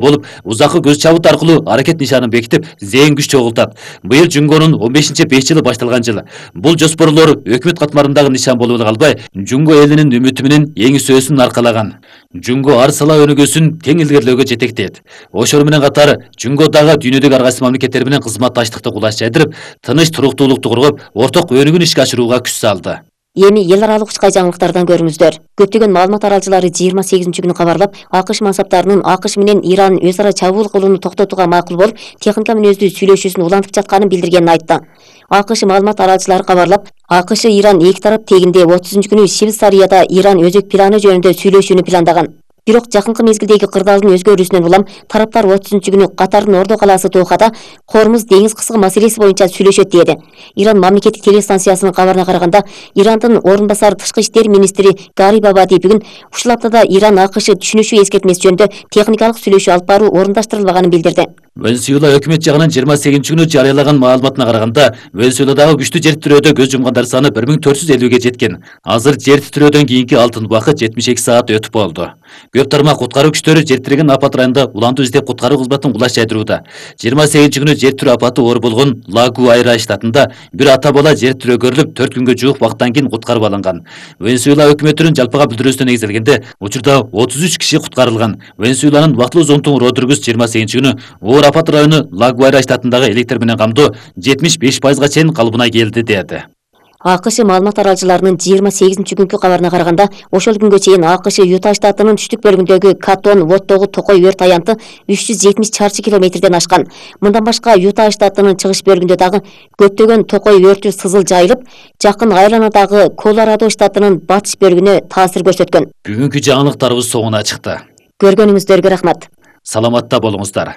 болуп, узаккы көз чабыт аркылуу аракет нишанын бекитип, зээн күч чогултат. Быйыл Жунгонун 15-5 жылы башталган жыл. Бул жоспорлор өкмөт катмарындагы нишан болуп калбай, Жунго элинин үмүтү менен эң сөзүн аркалаган. Жунго ар сала өнүгүүсүн тең илгерлөөгө жетектейт. Ошол менен катар Жунгодагы дүйнөдөгү ар кайсы мамлекеттер менен кызматташтыкты кулаш жайдырып, тыныч туруктуулукту коргоп, орток өнүгүүнү ишке ашырууга күч салды. Эми эл аралык учкай жаңылыктардан көрүңүздөр. Көптөгөн маалымат аралчылары 28-күнү кабарлап, АКШ мансаптарынын АКШ менен Иран өз ара чабуул кылууну токтотууга макул болуп, техника мүнөздүү сүйлөшүүсүн улантып жатканын билдиргенин айтты. АКШ маалымат аралчылары кабарлап, АКШ Иран эки тарап тегинде 30-күнү Швейцарияда Иран өзөк планы жөнүндө сүйлөшүүнү пландаган. Бирок жакынкы мезгилдеги кырдаалдын өзгөрүүсүнөн улам тараптар 30-күнү Катардын Ордо калаасы Дохада Хормуз деңиз кыскы маселеси боюнча сүйлөшөт деди. Иран мамлекеттик телестанциясынын кабарына караганда, Ирандын орун басары тышкы иштер министри Гариб Абади бүгүн ушул аптада Иран АКШ түшүнүшүү эскертмеси жөнүндө техникалык сүйлөшүү алып баруу орундаштырылбаганын билдирди. Венесуэла өкмөт жагынан 28-күнү жарыялаган маалыматына караганда, Венесуэладагы күчтүү жер титирөөдө көз жумгандар саны 1450ге жеткен. Азыр жер титирөөдөн кийинки алтын убакыт 72 саат өтүп болду. Көп тармак куткаруу күчтөрү жер тиреген апат районунда улантуу издеп куткаруу кызматын кулаш жайдырууда. 28-күнү жер тирөө апаты оор болгон Ла-Гуайра штатында бир ата бала жер тирөө көрүлүп, 4 күнгө жуук убакыттан кийин куткарып алынган. Венесуэла өкмөтүнүн жалпыга билдирүүсүнө негизделгенде, учурда 33 киши куткарылган. Венесуэланын убактылуу зонтугу Родригес 28-күнү оор апат району Ла-Гуайра штатындагы электр менен камдоо 75%га чейин калыбына келди деди. АКШ маалымат аралчыларынын 28-күнкү кабарына караганда, ошол күнгө чейин АКШ Юта штатынын түштүк бөлүгүндөгү Катон Воттогу токой өрт аянты 370 чарчы километрден ашкан. Мындан башка Юта штатынын чыгыш бөлүгүндө дагы көптөгөн токой өртү сызыл жайылып, жакын айланадагы Колорадо штатынын батыш бөлүгүнө таасир көрсөткөн. Бүгүнкү жаңылыктарыбыз соңуна чыкты. Көргөнүңүздөргө рахмат. Саламатта болуңуздар.